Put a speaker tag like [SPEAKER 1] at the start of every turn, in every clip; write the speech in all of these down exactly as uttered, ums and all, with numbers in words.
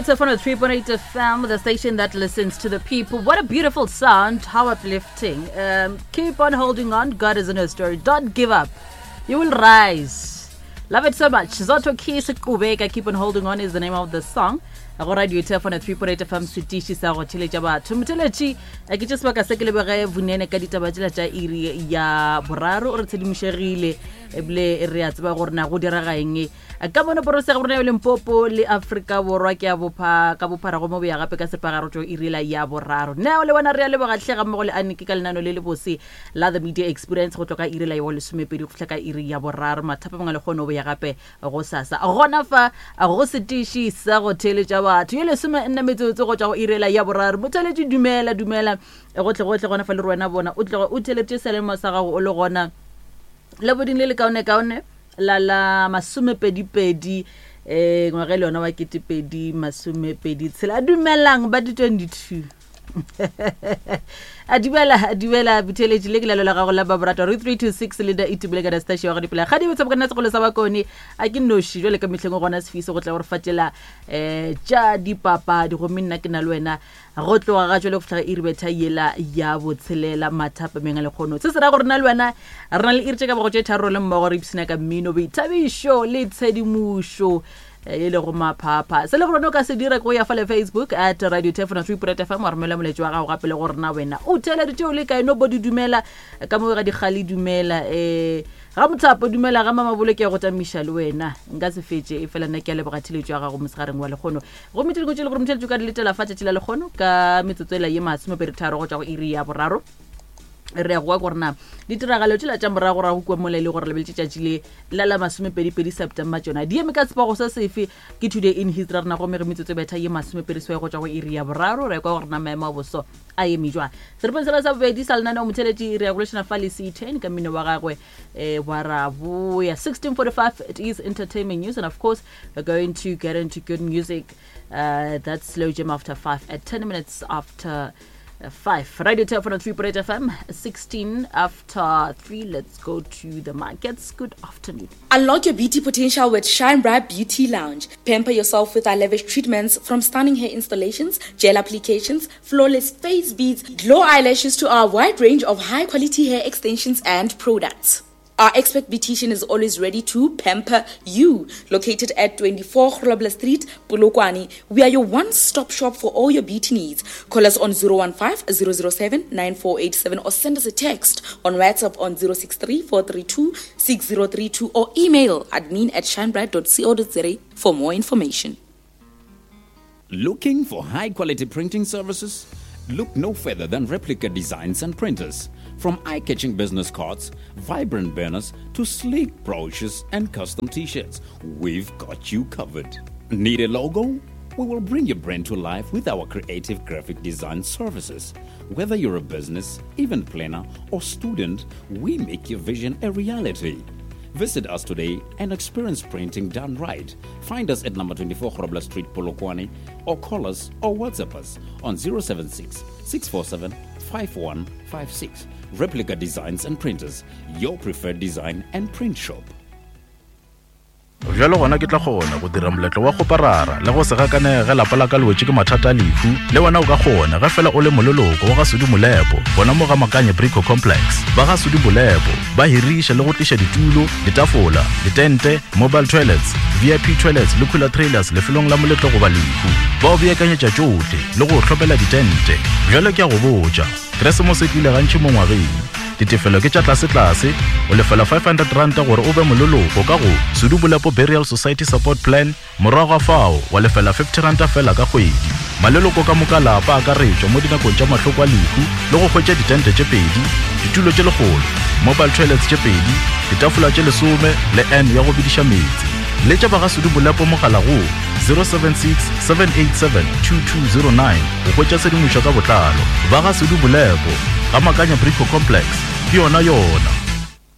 [SPEAKER 1] Tefano three point eight F M, the station that listens to the people. What a beautiful sound. How uplifting. Um, keep on holding on. God is in your story. Don't give up. You will rise. Love it so much. Zoto Keys Kubeka, Keep on Holding On is the name of the song. Go radio Tefano three point eight F M, setiši sa go theletša batho. Motheletši, ke tše sebaka se ke lebege Vunene ka ditaba tšela tša iri ya boraro. O re tshedimošegile, ebile re a tseba gore na go direga eng. Ka mono porose ga rona ya Limpopo le Afrika Borwa ke a bopha ka bophara go mo boya gape ka sepagaro tšo iri la ya boraro. Neo le wena re a leboga hle ga mmogo le Aniki ka lenano le le bose la The Media Experience go tloga iri la ya lesomepedi go fihla ka iri ya boraro. Mathapa mangwe le kgone go boya gape go sasa. Gona fa go setiši sa go theletša batho. Ye lesome nne metsotso go tšwa go iri la ya boraro. Motheletši dumela dumela gotle gotle gona fa le rena bona o tloga o theletše selemo sa gago o le gona leboding le le kaone kaone la la masomepedi-pedi eh ngwaga le yona wa ketepedi masomepedi tshela. Dumelang ba di twenty-two. A dumela, a dumela botheletši le ke lalo la gago la Baborato re three two six le da itubile ka station ya go dipela. Ga di botse bokana sekolo sa bakone a ke noši jwale ka mehleng gona sefiso go tla gore fatela eh tša dipapadi gomme nna ke na le wena go tloga ga jwale go fihla iri betha yela ya botshelela mathapa mengwe le kgono. Se se ra gore na le wena re na le iri tše ka bogo tše tharo le mmogo re ipshina ka mmino, boithabišo le tshedimošo e le go maphapha. Se le gore o ka se dira go ya fa le Facebook at Radio Tefano three point eight F M wa romela moletšo wa gago gape le gore na wena o theleditše o le kae. Nobody dumela ka mo ga dikgale dumela eh ga mothapo dumela ga mamabolo ke ya go tamiša le wena nka se fetše e fela nna ke a leboga theletšo ya gago mosegareng wa lekgono. Gomme tše dingwe tše le gore motheletšo ka di letela fa tšatši la lekgono ka metsotso ela ye masomepedi tharo go tšwa go iri ya boraro. Re ya go kwa gore na ditiragalo tšela tša moragorago kua mola e le gore lebeletše tšatši le la la masomepedipedi September tšona di eme ka sepogo se sefe. Ke Today in History rena gomme re metsotso e betha ye masomepedi seswai go tšwa go iri ya boraro. Re kwa gore na maemo a boso a eme jwang. Seripeng sela sa bobedi sa lenaneo motheletši re ya go lešana fa le C ten ka mmino wa gagwe eh wa ra boya. sixteen forty-five it is entertainment news, and of course we're going to get into good music. Uh, that's Slow Jam after five at ten minutes after five. Radio Tefano three point eight F M, sixteen after three. Let's go to the markets. Good afternoon.
[SPEAKER 2] Unlock your beauty potential with Shine Bright Beauty Lounge. Pamper yourself with our lavish treatments, from stunning hair installations, gel applications, flawless face beads, glow eyelashes to our wide range of high-quality hair extensions and products. Our expert beautician is always ready to pamper you. Located at twenty-four Grobler Street, Polokwane, we are your one-stop shop for all your beauty needs. Call us on zero one five, zero zero seven, nine four eight seven or send us a text on WhatsApp on zero six three, four three two, six zero three two or email admin at shinebright dot co dot za for more information.
[SPEAKER 3] Looking for high-quality printing services? Look no further than Replica Designs and Printers. From eye-catching business cards, vibrant banners, to sleek brochures and custom t-shirts, we've got you covered. Need a logo? We will bring your brand to life with our creative graphic design services. Whether you're a business, event planner, or student, we make your vision a reality. Visit us today and experience printing done right. Find us at number twenty-four Grobler Street, Polokwane, or call us or WhatsApp us on zero seven six, six four seven, five one five six. Replica Designs and Printers, your preferred design and print shop.
[SPEAKER 4] Bjalo gona ke tla kgona go dira moletlo wa go parara le go se gakanege lapa la ka le wetše ke mathata a lehu. Le wena o ka kgona ge fela o le moleloko wa ga Sudi Molepo gona mo ga Makanye Brico Complex. Ba ga Sudi Molepo ba hiriša le go tliša ditulo, ditafola, ditente, mobile toilets, V I P toilets le cooler trailers lefelong la moletlo goba lehu. Ba o beakanyetša tšohle le go hlopela ditente. Bjalo ke a go botša, Keresemose e tlile gantši mo ngwageng. Ditefelo ke tša tlase-tlase, o lefela five hundred ranta gore o be moleloko ka go Sudi Molepo Burial Society Support Plan, morago ga fao wa lefela fifty ranta fela ka kgwedi. Maleloko ka moka lapa a akaretšwa mo dinakong tša mahloko a lehu le go hwetša ditente tše pedi, ditulo tše lekgolo, mobile toilets tše pedi, ditafola tše lesome le N ya go bediša meetse. Letša ba ga Sudi Molepo mogala go zero seven six, seven eight seven, two two zero nine go hwetša tshedimošo ka botlalo. Ba ga Sudi Molepo, ga Makanya Brico Complex, ke yona yona.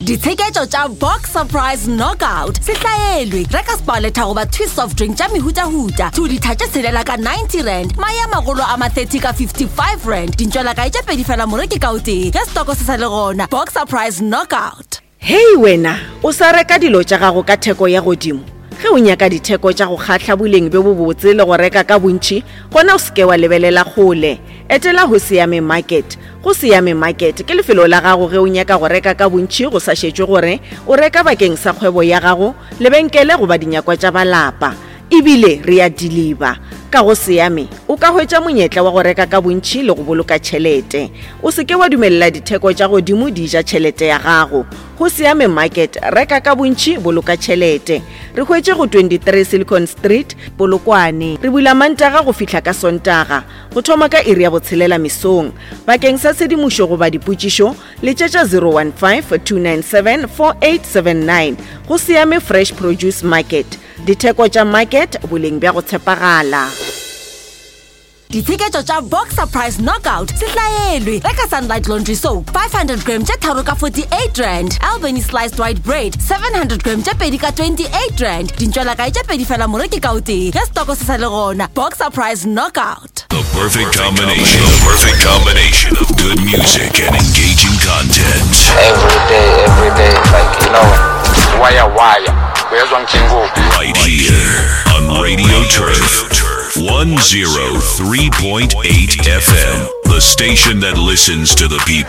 [SPEAKER 5] Ditsheketšo tša Box Surprise Knockout se hlaelwe. Reka Sparletta goba Twist soft drink tša mehutahuta, two litha tše tshelela ka ninety rand, mae a magolo a ma thirty ka fifty-five rand, dintšwelakae tše pedi fela moreki ka o tee, ge stoko se sa le gona. Box Surprise Knockout.
[SPEAKER 6] Hei wena, o sa reka dilo tša gago ka theko ya godimo. Ge o nyaka ditheko tša go kgahla boleng bjo bobotse le go reka ka bontši, gona o se ke wa lebelela kgole. Etela Hosiame Market. Go Siame Market ke lefelo la gago ge o nyaka go reka ka bontši go sa šetšwe gore o reka bakeng sa kgwebo ya gago, lebenkele goba dinyakwa tša ba lapa. Ebile re a deliver. Ka go Siame o ka hwetša monyetla wa go reka ka bontši le go boloka tšhelete. O se ke wa dumelela ditheko tša godimo di ja tšhelete ya gago. Go Siame Market, reka ka bontši, boloka tšhelete. Re hwetše go twenty-three Silicon Street, Polokwane. Re bula Mantaga go fihla ka Sontaga, go thoma ka iri ya botshelela mesong. Bakeng sa tshedimošo goba dipotšišo, letšetša zero one five, two nine seven, four eight seven nine. Go Siame Fresh Produce Market. Ditheko tša market, boleng bja go tshepagala.
[SPEAKER 5] Ditsheketšo tša Boxer Price Knockout se hlaelwe. Reka Sunlight Laundry Soap five hundred gram tše tharo ka forty-eight rand, Albany Sliced White Bread seven hundred gram tše pedi ka twenty-eight rand, dintšwelakae tše pedi fela moreki ka o tee ge stoko se sa le gona. Boxer Price Knockout.
[SPEAKER 7] The perfect combination. The perfect combination of good music and engaging content.
[SPEAKER 8] Every day, every day, like, you know, wire, wire. Uyezwa ngijingo.
[SPEAKER 7] Right here on Radio Turf one zero three point eight F M, the station that listens to the people.